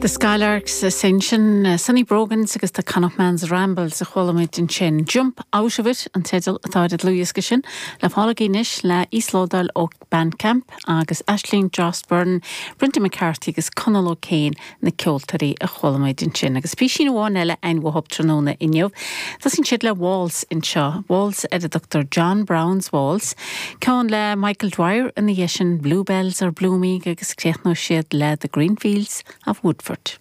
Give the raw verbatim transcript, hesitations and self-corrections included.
The Skylarks Ascension, Sonny Brogans agus the Connachtman's Rambles a chuala muid ansin. Jump out of it an teideal atá ar an dlúthdhiosca sin le fáil anois le íoslódáil ó Bandcamp agus Aisling Joss Byrne, Brendan McCarthy agus Conal O'Kane na ceoltóirí a chuala muid ansin. Agus písín amháin eile againn tráthnóna inniu. Tosaíonn siad le Waltz anseo, Waltz ar a dtugtar John Brown's Waltz, Ceann le Michael Dwyer ina dhiaidh sin Bluebells are blooming agus críochnóidh siad le The Green Fields of Woodford.